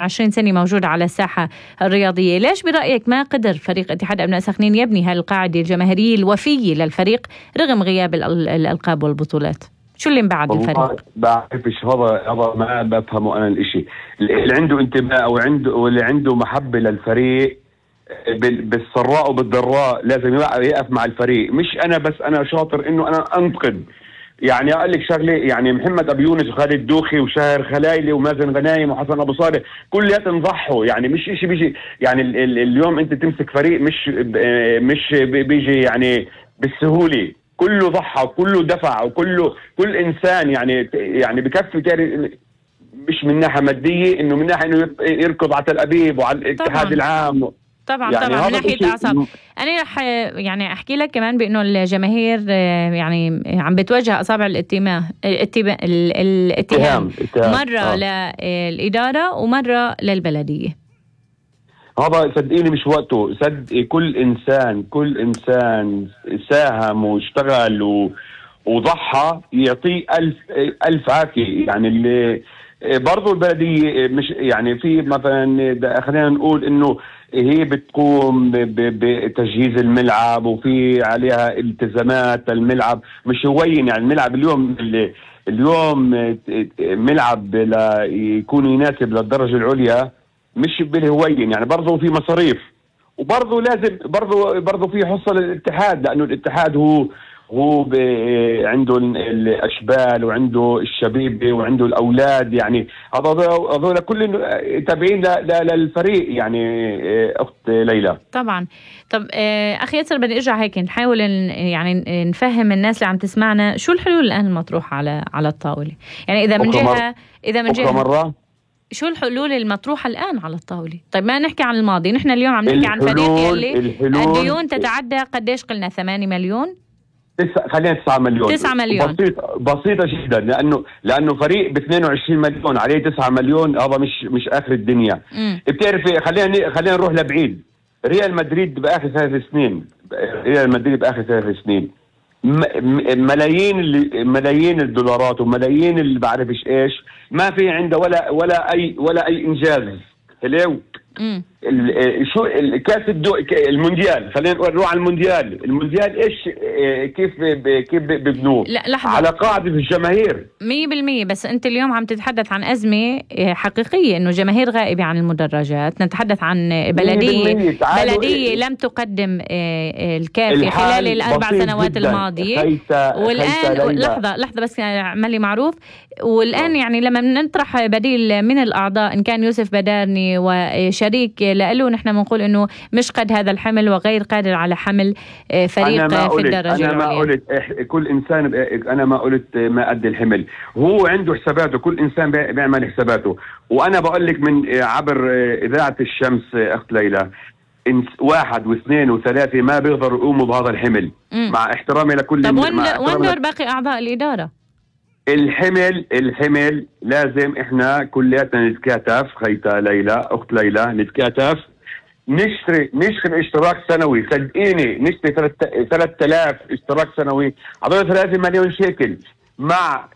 20 سنة موجود على الساحة الرياضية. ليش برأيك ما قدر فريق اتحاد أبناء سخنين يبني هالقاعدة الجماهيرية الوفية للفريق رغم غياب الألقاب والبطولات؟ شو اللي مبعد الفريق؟ بعرفش، هذا ما بفهمه أنا الإشي. اللي عنده انتماء واللي عنده محبة للفريق بالسراء وبالضراء لازم يقف مع الفريق. مش أنا بس، أنا شاطر إنه أنا أنتقد. يعني أقول لك شغله، يعني محمد أبو يونس وخالد دوخي وشاهر خلايلي ومازن غنايم وحسن أبو صالح كلياتهم ضحوا. يعني مش إشي بيجي، يعني اليوم أنت تمسك فريق مش بيجي يعني بالسهولة. كله ضحى وكله دفع كل إنسان يعني بكفي، مش من ناحية مادية، إنه من ناحية إنه يركض على تل أبيب وعلى الاتحاد العام. طبعا يعني طبعا من ناحية أعصاب. أنا رح يعني أحكي لك كمان بأنه الجماهير يعني عم بتوجه أصابع الاتهام مرة للإدارة ومرة للبلدية. هذا صدقيني مش وقته. صدقي كل إنسان ساهم واشتغل وضحى يعطيه ألف عافية. يعني اللي برضو البلدية مش يعني في مثلا خلينا نقول إنه هي بتقوم بتجهيز الملعب وفي عليها التزامات الملعب مش هوين. يعني الملعب اليوم ملعب يكون يناسب للدرجة العليا مش بالهوين. يعني برضو في مصاريف، وبرضو لازم برضو في حصة للاتحاد، لأنه الاتحاد هو عنده الأشبال وعنده الشبيبة وعنده الأولاد. يعني هذول كل تابعين للفريق. يعني أخت ليلى طبعا. طب أخي ياسر، بدي أرجع هيك نحاول يعني نفهم الناس اللي عم تسمعنا شو الحلول الآن المطروحة على الطاولة. يعني إذا من جهة مرة شو الحلول المطروحة الآن على الطاولة؟ طيب ما نحكي عن الماضي، نحن اليوم عم نحكي عن فريق يلي الديون تتعدى قديش قلنا 8 مليون؟ خلينا 9 مليون. 9 مليون بسيطة جدا، لأنه فريق ب 22 مليون عليه 9 مليون. هذا مش آخر الدنيا. بتعرفي، خلينا نروح لبعيد. ريال مدريد بآخر 3 سنين ملايين الدولارات وملايين اللي بعرفش ايش، ما في عنده ولا اي انجاز. هلو شو كاس المونديال، خلينا نروح على المونديال ايش كيف ببنوه على قاعدة الجماهير 100%. بس انت اليوم عم تتحدث عن أزمة حقيقية، انه جماهير غائبة عن المدرجات. نتحدث عن بلدية لم تقدم الكافي خلال ال4 سنوات الماضية. والآن لحظة بس عملي معروف. والآن يعني لما نطرح بديل من الأعضاء إن كان يوسف بدارني وشريك لألو، نحن بنقول إنه مش قد هذا الحمل وغير قادر على حمل فريق في الدرجة أنا ما قلت كل إنسان، أنا ما قلت ما قد الحمل. هو عنده حساباته، كل إنسان بيعمل حساباته. وأنا بقول لك من عبر إذاعة الشمس أخت ليلى، 1 و2 و3 ما بيقدروا يقوموا بهذا الحمل. مع احترامي لكل. طب وين دور باقي أعضاء الإدارة؟ الحمل لازم احنا كلياتنا نتكاتف. خيتا ليلى، اخت ليلى، نتكاتف، نشتري اشتراك سنوي. صدقيني نشتري 3000 اشتراك سنوي، هذول 3 مليون شيكل، مع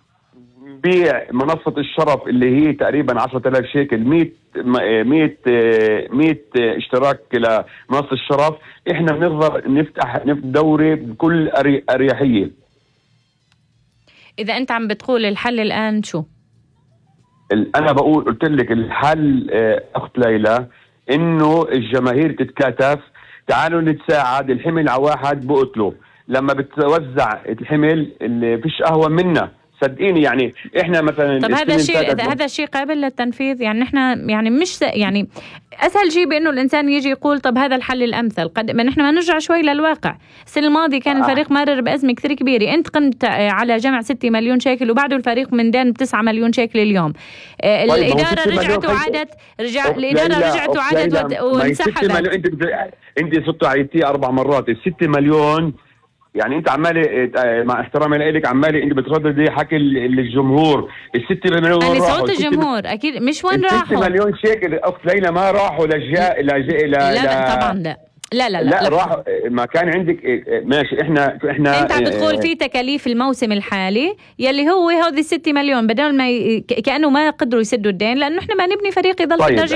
بيع منصة الشرف اللي هي تقريبا 10,000 شيكل. 100 اشتراك لمنصة الشرف. احنا بنقدر نفتح دوري بكل اريحية. إذا أنت عم بتقول الحل الآن شو؟ أنا قلت لك الحل أخت ليلى إنه الجماهير تتكاتف. تعالوا نتساعد. الحمل على واحد بقتله. لما بتوزع الحمل اللي فيش أهون منا، صدقيني. يعني إحنا مثلا طب هذا الشيء قابل للتنفيذ؟ يعني نحن يعني مش يعني أسهل شيء بأنه الإنسان يجي يقول طب هذا الحل الأمثل. ما نحن ما نرجع شوي للواقع. السنة الماضية كان الفريق مرر بأزمة كثير كبيرة. أنت قمت على جمع 6 مليون شيكل وبعده الفريق من دين 9 مليون شيكل اليوم. الإدارة رجعت وعادت. الإدارة رجعت وعادت وانسحبت. أنت صرتوا عيدتي 4 مرات. 6 مليون يعني انت عمالي، مع احترامي لك، عمالي انت بترددي حكي الجمهور. ال6 مليون يعني صوت الجمهور اكيد مش وين راحوا. 6 مليون شيكل اخت ليلى ما راحوا لا طبعا لا. لا راح ما كان عندك ماشي. احنا انت عم بتقول في تكاليف الموسم الحالي يلي هو هذه 6 مليون بدل ما كأنه ما قدروا يسدوا الدين لانه احنا ما نبني فريق يضل في الدرجة